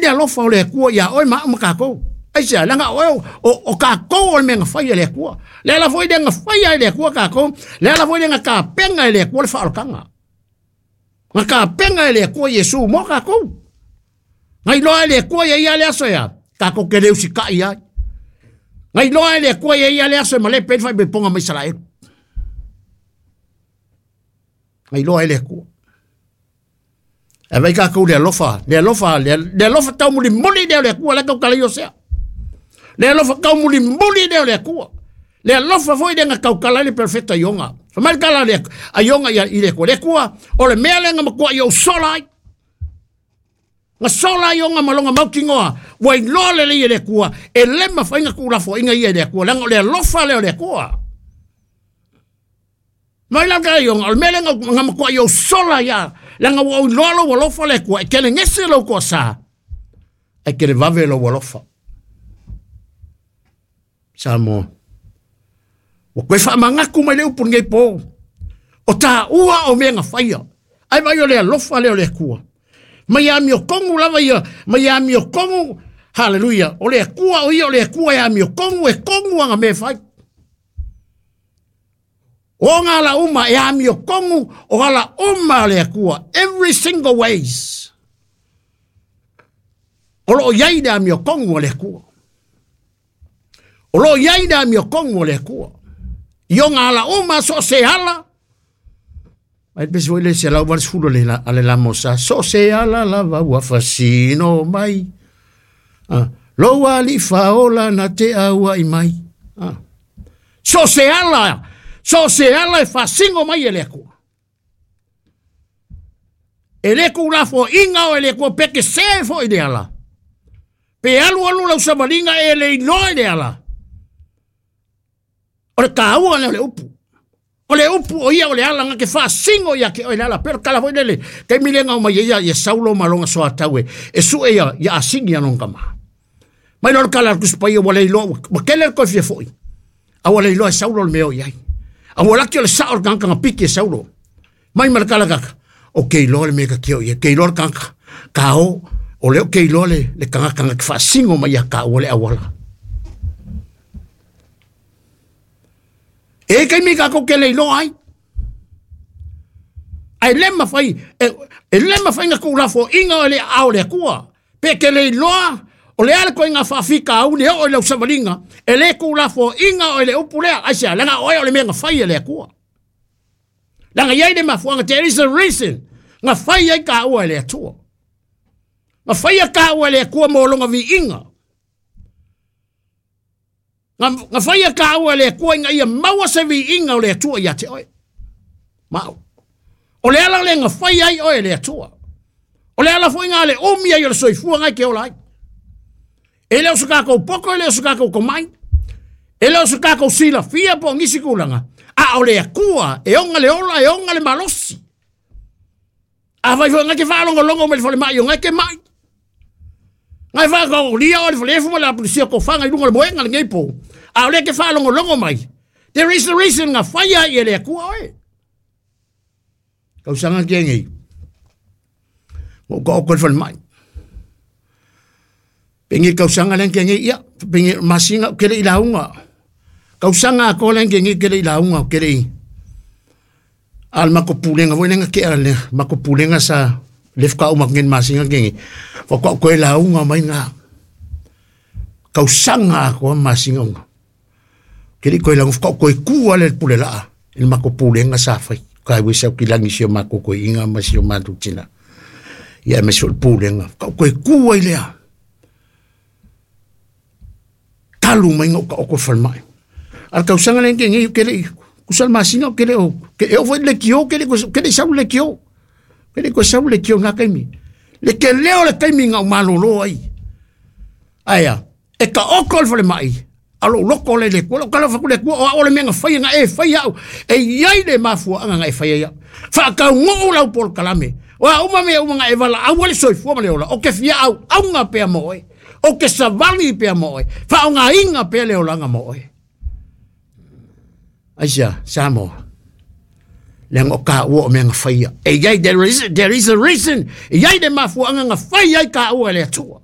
le alofa o le Atua iā oe ma au ma tatou. Aisea? Leaga o oe o tatou o le mea na fai e le Atua. Le ala foi lea na faia ai le Atua tatou, le ala foi lea na tapena e le Atua le faaolataga. Na tapena e le Atua Iesu mo tatou. Na iloa e le Atua ia ia le aso ea, tatou te le usitai ai. Na iloa e le Atua ia ia le aso e malepe ai le faaipoipoga ma Isaraelu. Na iloa e le Atua. Ae vai tatou le alofa, le alofa, le alofa taumulimuli lea o le Atua, la tautala i Osea. Le alofa taumulimuli lea o le Atua. Le alofa foi lea na tautala ai le perofeta Iona. Fai mai le tala a Iona i le Atua, le Atua, o le mea lea na matuai ou sola ai. Na sola ai Iona ma lona mautinoa, ua iloa lelei e le Atua, e le mafai ona tuulafoaiina ia e le Atua, leaga o le alofa lea o le Atua. Mai la tala Iona, o le mea lea na matuai ou sola ia, leaga ua ou iloa lou alofa le Atua, e telegese lou toasa, ae televave lou alofa. Samoa. Ua toe faamanatu mai le upu lenei po. O taua o mea na faia. Ai vai o le alofa lea o le Atua. Mai amiotonu lava ia, mai amiotonu, haleluia, o le Atua o ia o le Atua e amiotonu, e tonu ana mea e fai. O ngā ala uma e amiotonu, o ala uma a le Atua, every single ways. O loo iai le amiotonu a le Atua. O loo iai le amiotonu a le Atua. I ona ala uma, so o se ala, ai pesi foi le 180 le la, ale la mosa, so se ala lava ua fasino mai. Ah, lou ali faola na te aua i mai. Ah. So se ala, so se ala e fasingo mai e le Atua. E le tuulafoaiga o e le Atua pe te se foi i le ala. Pe alu alu lau savaliga e le iloa i le ala. O le taua lea o le upu. O le upu o ia o le ala na te faasingo ia te oe le ala. Pe o le tala foi lele, taimi lea na omai ai ia Saulo ma lona soatau e sue ia asini ia lona tama. Mai loa le tala a le Tusi Paia ua le iloa, ua tele le toe fia foi. A ua le iloa e Saulo le mea o i ai. A ua laki o le sao o le tagata na piki e Saulo. Mai ma le tala kaka, o ke iloa le mea ka kio ia, ke iloa le tagata, ka o, o lea o ke iloa le tagata na te faasingo mai ia kāua le auala. E taimi kātou ke le iloa ai. Ae le mawhai, e le mawhai nga tuulafoaiga o le aao o le Atua. Pe ke le iloa, o le a le koiga faafitauli e oo i lau savaliga, e le tuulafoaiga o le upu lea, aisea, leaga oe o le mea na fai e le Atua. Leaga i ai le mafuaaga, there is a reason, na fai ai kāua e le Atua. Na faia kāua e le Atua mo lona viiga. Na faia kāua e le Atua ina ia maua se viiga o le Atua ia te oe. Ma au. O le ala lea na fai ai oe e le Atua. O le ala foi ngā le umi ai o le soifua ngai ke ola ai. E le o se kākou poto, e le o se kākou tomai, e le o se kākou silafia po o nisi tulaga, a o le Atua e ona le ola, e ona le malosi. Afai foi ngai te faalogologo mai le falemai o ngai te mai. Ngai whaakaolia o le whalefu ma le apulisia ko whanga i runga le moenga le ngei pō. A o le ke whaalongolongo mai. There is a reason nga whaia i e le Atua oe. Kausanga ki ngei. Mo ka oko le whalemai. Pengi kausanga le ki ngei ia. Pengi masinga kele i launga. Kausanga ko le ki ngei kele i launga kele i. Al mako pulenga foi lenga ke ale mako pulenga sa lef ka uma ngen masinga ke ngi. Fo ko ko launga mai nga. Kausanga ko masinga unga. Kele ko la ko ko ku ale pule la. Il mako pulenga sa fai. Ka we sa ki langi sio mako ko inga ma sio matu tina. Ia me sio pulenga. Ka ko ku ai lea. Talu mai ngau ka oko falmai. Al kausanga le ngi kele kusal masinga kele o ke e o le kio kele ko kele sau le kio. Kele ko sau le kio ngā kaimi. Le ke leo le kaimi ngau malolo ai. Aia, e ka oko le falemai. Alo loko le le kua, kala faku le kua, o ao le mea nga whai nga e whai au. E iai le mafua anga nga e whai ai. Whaakau ngoo lau pol kalame. O a uma mea uma nga e wala au ale soifua ma le ola. O ke fia au, au nga pea mo oe. O ke savali pea mo oe. Wha o ngā inga pea le olanga mo oe. Aisia, Samoa. Le ngo ka ua o mea nga whaia. E iai, there is a reason. E iai le mafua anga nga whai ai ka ua le atua.